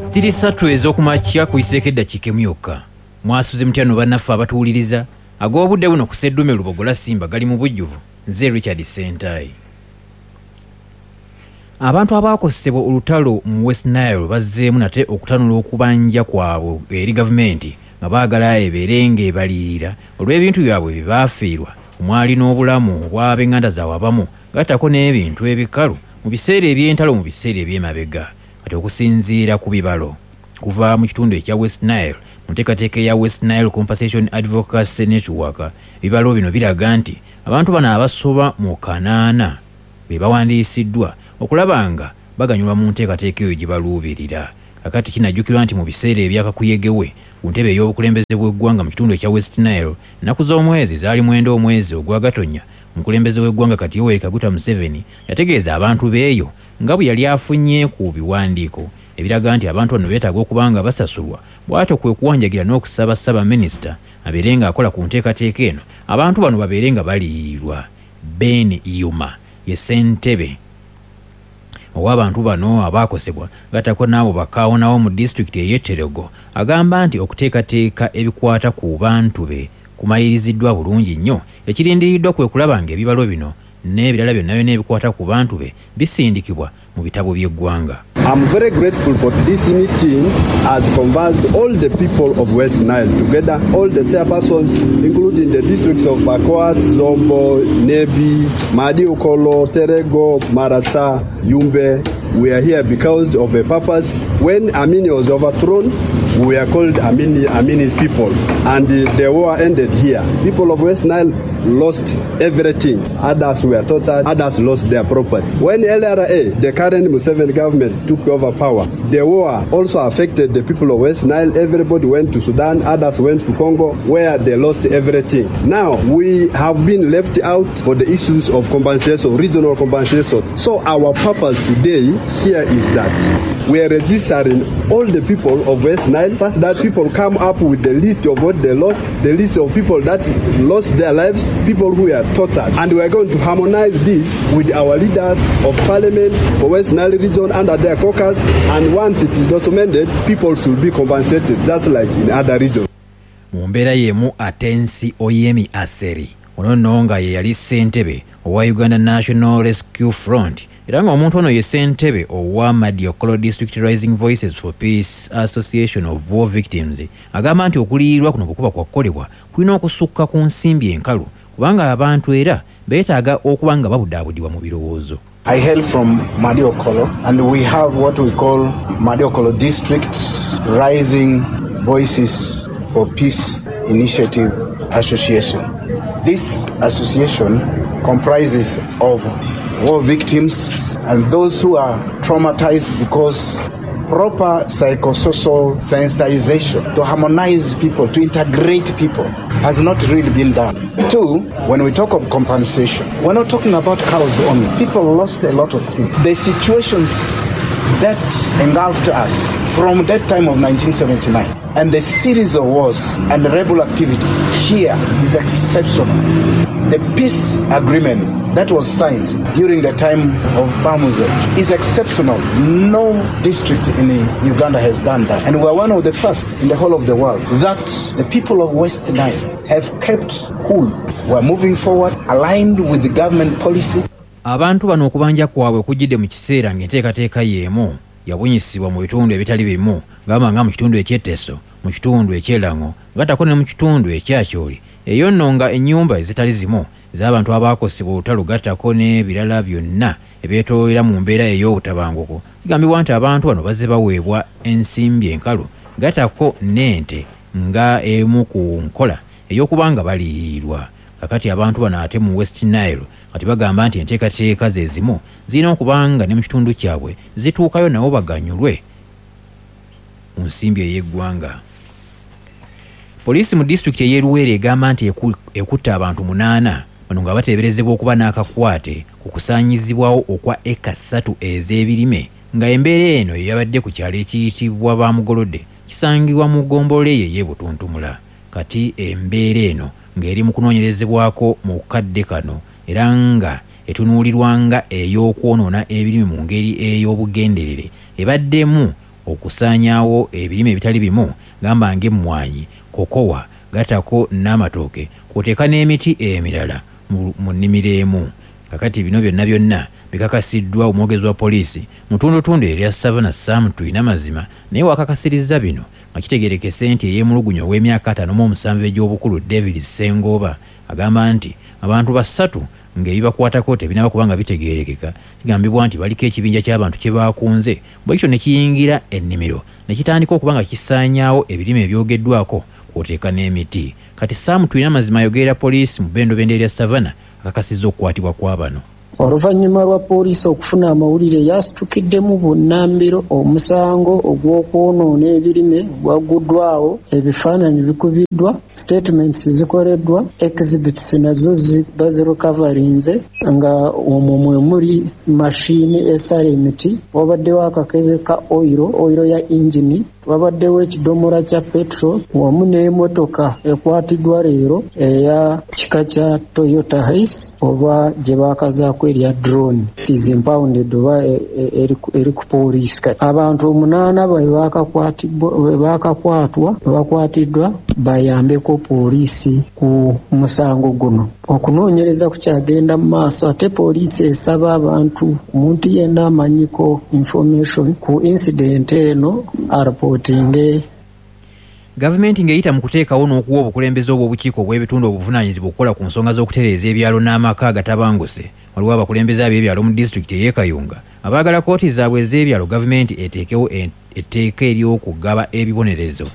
Ziri 3 ez'okumakya kuyiseeko eddakiika emu yokka. Mwasuze mutya nno bannaffe abatuwuliriza? Ag'obudde buno ku Sseddume Lubogola Simba gali mu bujjuvu. Nze Richard Ssentayi. Abantu abaakosebwa olutalo mu West Nile bazzeemu nate okutanula okubanja kwabwe eri gavumenti nga baagala ebeere ng'ebaliyirira olw'ebintu byabwe bye baafiirwa omwali n'obulamu obw'ab'enganda zaabwe abamu gattako n'ebintu ebikalu mu biseera eby'entalo mu biseera eby'emabega. Kati okusinziira ku bibalo kuva mu kitundu ekya West Nile mu nteekateeka eya West Nile Compensation Advocacy Network, ebibalo bino biraga nti abantu bano abasoba mu 800 be bawandiisiddwa okulaba nga baganyulwa mu nteekateeka eyo gye baluubirira. Kakati kinajjukirwa nti mu biseera ebyakakuyegewe ku ntebe ey'obukulembeze bw'eggwanga mu kitundu ekya West Nile, ennaku z'omwezi zaali 9 omwezi ogwa Gatonnya, omukulembeze w'eggwanga kati Yoweri Kaguta Museveni yategeeza abantu b'eyo nga bwe yali afunye ku biwandiiko ebiraga nti abantu bano beetaaga okuba nga basasulwa, bw'atyo kwe kuwanjagira n'okusaba Ssaabaminisita abeere ng'akola ku nteekateeka eno abantu bano babeere nga baliyirirwa. Ben Yuma ye ssentebe ow'abantu bano abaakosebwa gattako n'abo bakaawonawo mu disitulikiti ey'e Terego agamba nti okuteekateeka ebikwata ku bantu be kumaliriziddwa bulungi nnyo, ekirindiriddwa kwe kulaba ng'ebibalo bino n'ebirala byonna byonna ebikwata ku bantu be bisindikibwa mu bitabo by'eggwanga. I'm very grateful for this meeting has converged all the people of West Nile together, all the chairpersons, including the districts of Pakwach, Zombo, Nebi, Madi Okolo, Terego, Maracha, Yumbe. We are here because of a purpose. When Amini was overthrown, we are called Amini's people, and the war ended here. People of West Nile lost everything. Others were tortured, others lost their property. When LRA, the current Museveni government, took over power, the war also affected the people of West Nile. Everybody went to Sudan, others went to Congo, where they lost everything. Now, we have been left out for the issues of compensation, regional compensation. So our purpose today here is that we are registering all the people of West Nile, such that people come up with the list of what they lost, the list of people that lost their lives, people who are tortured. And we are going to harmonize this with our leaders of parliament for West Nile region under their caucus, and once it is documented, people should be compensated just like in other regions. Mu mbeera y'emu Atensi Oyemi Aseri ono nno nga ye yali ssentebe owa Uganda National Rescue Front era ng'omuntu ono ye ssentebe owa Madi Okollo District Rising Voices for Peace Association of War Victims agamba nti okuliyirirwa kuno bwe kuba kwakukolebwa kulina okusukka ku nsimbi enkalu kubanga abantu era beetaaga okuba nga babudaabudibwa mu birowoozo. I hail from Madi Okollo, and we have what we call Madi Okollo District Rising Voices for Peace Initiative Association. This association comprises of war victims and those who are traumatized because proper psychosocial sensitization to harmonize people, to integrate people, has not really been done. 2, when we talk of compensation, we're not talking about cows only. People lost a lot of things. The situations that engulfed us from that time of 1979 and the series of wars and rebel activity here is exceptional. The peace agreement that was signed during the time of Bamuze is exceptional. No district in Uganda has done that. And we are one of the first in the whole of the world that the people of West Nile have kept cool. We are moving forward, aligned with the government policy. Abantu bano okubanja kwabwe kujjidde mu kiseera ng'enteekateeka y'emu yabunyisibwa mu bitundu ebitali bimu, gamba nga mu kitundu eky'Etteso, mu kitundu eky'Elango, gattako ne mu kitundu ekyakyoli. Eyo nno nga ennyumba ezitali zimu ez'abantu abaakosebwa olutalo gattako n'ebirala byonna ebyetoolera mu mbeera ey'obutabanguko. Kigambibwa nti abantu bano bazze baweebwa ensimbi enkalu gattako n'ente nga emu ku nkola ey'okuba nga baliyirirwa. Kakati abantu bano ate mu West Nile kati bagamba nti enteekateeka ze zimu zirina okuba nga ne mu kitundu kyabwe zituukayo nabo baganyulwe mu nsimbi ey'eggwanga. Poliisi mu disitulikiti ey'e Luweero egamba nti ekutte abantu 8 bano nga bateeberezebwa okuba n'akakwate ku kusaanyizibwawo okwa eka 3 ez'ebirime nga embeera eno eyabadde ku kyalo ekiyitibwa Bamugolodde kisangibwa mu ggombolola eyo ey'e Butuntumula. Kati embeera eno ng'eri mu kunoonyerezebwako mu kadde kano era nga etunuulirwa nga ey'okwonoona ebirime mu ngeri ey'obugenderere ebaddemu okusaanyaawo ebirime ebitali bimu gamba ng'emmwanyi, kokowa, gattako n'amatooke kw'oteeka n'emiti emirala mu nnimiro emu. Kakati bino byonna byonna bikakasiddwa omwogezi wa poliisi mu ttundutundu erya Savannah Sam Twineamazima, naye wakakasirizza bino nga kitegeerekese nti eyeemulugunya ow'emyaka 57 egy'obukulu David Ssengoba agamba nti abantu 3 ng'ebibakwatako tebinaba kubanga bitegeerekeka. Kigambibwa nti baliko ekibinja ky'abantu kye baakunze bwe kityo ne kiyingira ennimiro ne kitandika okuba nga kisaanyaawo ebirime ebyogeddwako kw'oteeka n'emiti. Kati Sam Twineamazima ayogerera poliisi mu bbendobendo erya Savannah akakasizza okukwatibwa kwa bano. Oluvannyuma lwa poliisi okufuna amawulire yasitukiddemu bunnambiro omusango ogw'okwonoona ebirime gwagguddwawo, ebifaananyi bikubiddwa, statements zikoleddwa, exhibits nazo bazirecoverinze nga omwo mwe muli mashini esala emiti, wabaddewo akakebe ka oyiro ya engine, wabaddewo ekidomola kya petrol wamu n'emmotoka ekwatiddwa leero eya kika kya Toyota Hiace oba gye baakazaako erya drone. It is impounded oba eri ku poliisi. Abantu 8 bwe bakakwatiddwa bayambeko poliisi ku musango guno. Okunoonyereza kukyagenda mu maaso ate poliisi esaba abantu omuntu yenna amanyiko information ku incident eno arapootinge. Gavumenti ng'eyita mu kuteekawo n'okuwa obukulembeze obw'obukiiko obw'ebitundu obuvunaanyizibwa okukola ku nsonga z'okutereeza ebyalo n'amaka agatabanguse. Waliwo abakulembeze ab'ebyalo mu disitulikiti ey'e Kayunga abaagala kkooti zaabwe ez'ebyalo gavumenti eteekewo etteeka ery'okugaba ebibonerezo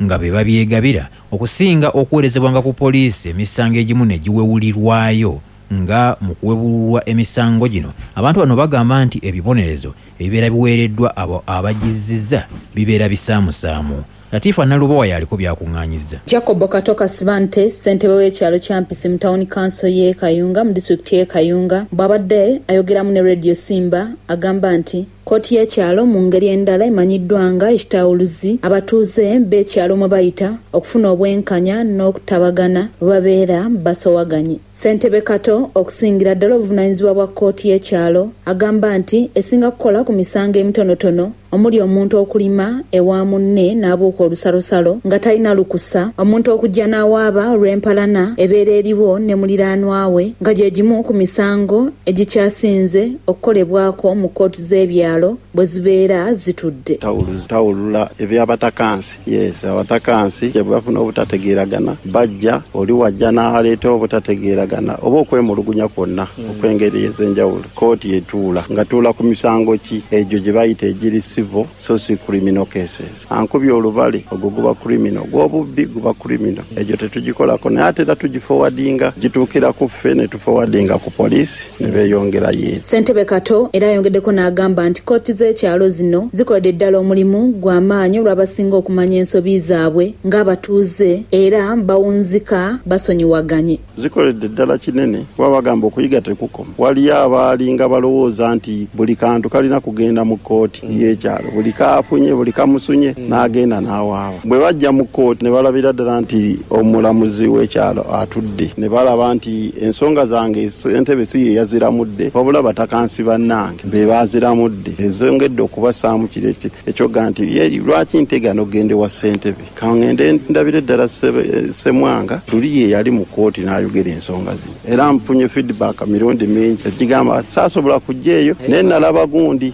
nga be babyegabira okusinga okuweerezebwanga ku poliisi emisango egimu ne giwewulirwayo. Nga mu kuwebululwa emisango gino abantu bano bagamba nti ebibonerezo ebibeera biweereddwa abo abagizizza bibeera bisaamusaamu. Latifa Nalubowa yaliko byakuŋŋaanyizza. Jacob Kato Kasibante, ssentebe w'ekyalo kya Mpisi mu Town Council y'e Kayunga mu disitulikiti y'e Kayunga, bw'abadde ayogeramu ne Radio Simba agamba nti kkooti y'ekyalo mu ngeri endala emanyiddwa nga ekitawuluzi abatuuze b'ekyalo mwe bayita okufuna obwenkanya n'okutabagana bwe babeera basowaganye. Ssentebe Kato okusingira ddala obuvunaanyizibwa bwa kkooti y'ekyalo agamba nti esinga kukola ku misango emitonotono omuli omuntu okulima ewa munne n'abuuka olusalosalo nga talina lukusa, omuntu okujja n'awaaba olw'empalana ebeera eriwo ne muliraanwa we nga gye gimu ku misango egikyasinze okukolebwako mu kkooti z'ebyalo bwe zibeera zitudde. Tawulula eby'abatakansi. Yes, abatakansi bwe bafuna obutategeeragana bajja oli wajja n'aleeta obutategeeragana oba okwemulugunya kwonna okw'engeri ez'enjawulo. Kkooti etuula nga tuula ku misango ki egyo gye bayita egiri civil so si criminal cases. Ankubye olubale ogwo guba criminal, gw'obubbi guba criminal. Egyo tetugikolako naye ate era tugiforwardinga gituukira ku ffe ne tuforwardinga ku poliisi ne beeyongerayo eri. Ssentebe Kato era ayongeddeko n'agamba nti kkooti z'ekyalo zino zikoledde ddala omulimu gw'amaanyi olw'abasinga okumanya ensobi zaabwe ng'abatuuze era bawunzika basonyiwaganye. Zikoledde ddala kinene kuba bagamba okuyiga tekukoma. Waliyo abaalinga balowooza nti buli kantu kalina kugenda mu kkooti y'ekyalo, buli kaafunye buli kamusunye n'agenda n'awaaba. Bwe bajja mu kkooti ne balabira ddala nti omulamuzi w'ekyalo atudde, ne balaba nti ensonga zange ssentebe si ye yaziramudde wabula batakansi bannange be baaziramudde. Ezongedde okubassaamu kiri ekyoga nti lwaki ntegana okugenda ewa ssentebe, kangende ndabire ddala Ssemwanga luli ye yali mu kkooti n'ayogera ensonga zino. Era nfunye feedback mirundi mingi egigamba saasobola kujja eyo naye nalaba gundi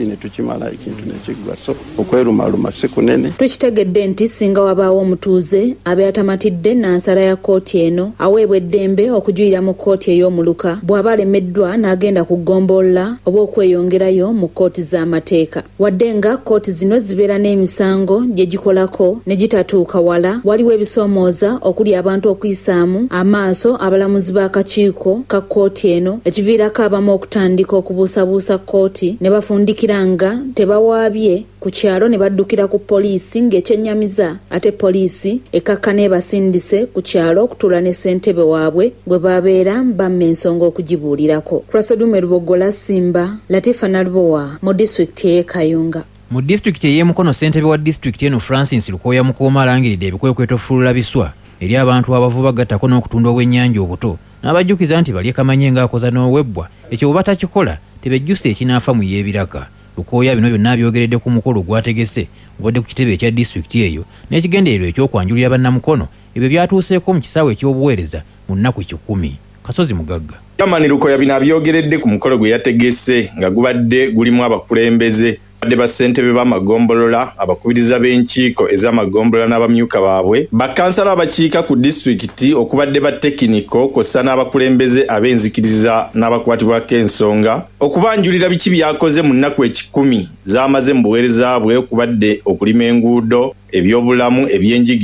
ne tukimala ekintu ne kiggwa. So okwerumaluma si kunene. Tukitegedde nti singa wabaawo omutuuze abeera tamatidde n'ansala ya kkooti eno aweebwa eddembe okujulira mu kkooti ey'omuluka bw'aba alemeddwa n'agenda ku ggombolola oba okweyongerayo mu kkooti z'amateeka. Wadde nga kkooti zino zibeera n'emisango gye gikolako ne gitatuuka wala, waliwo ebisoomooza okuli abantu okuyisaamu amaaso abalamuzi b'akakiiko ka kkooti eno ekiviirako abamu okutandika okubuusabuusa kkooti ne bafundikira nga tebawaabye ku kyalo ne baddukira ku poliisi ng'ekyennyamiza ate poliisi ekkakkana ebasindise ku kyalo okutuula ne ssentebe waabwe gwe babeera bamma ensonga okugibuulirako. Prasodume Lubogola Simba, Latifa Nalubowa mu disitulikiti ey'e Kayunga. Mu disitulikiti ey'e Mukono, ssentebe wa disitulikiti eno Francis Lukooya Mukooma alangiridde ebikwekweto fulula biswa eri abantu abavuba gattako n'okutunda obwennyanja obuto n'abajjukiza nti balye kamanye ng'akoza n'owebbwa ekyo bwe batakikola tebejjusa ekinaafa mu y'ebiraka. Lukooya bino byonna abyogeredde ku mukolo gwategese gubadde ku kitebe ekya disitulikiti eyo n'ekigendererwa eky'okwanjulira bannamukono ebyo byatuuseeko mu kisaawe eky'obuweereza mu nnaku 100. Kasozi Mugagga. Chairman Lukoya bino abyogeredde ku mukolo gwe yategese nga gubadde gulimu abakulembeze badde bassentebe b'amagombolola, abakubiriza b'enkiiko ez'amagombolola n'abamyuka baabwe, bakansala abakiika ku disitulikiti okubadde ba tekiniko kw'ossa n'abakulembeze ab'enzikiriza n'abakwatibwako ensonga okubanjulira biki by'akoze mu nnaku 100 z'amaze mu buweereza bwe okubadde okulima enguudo, ebyobulamu, ebyenjigiriza.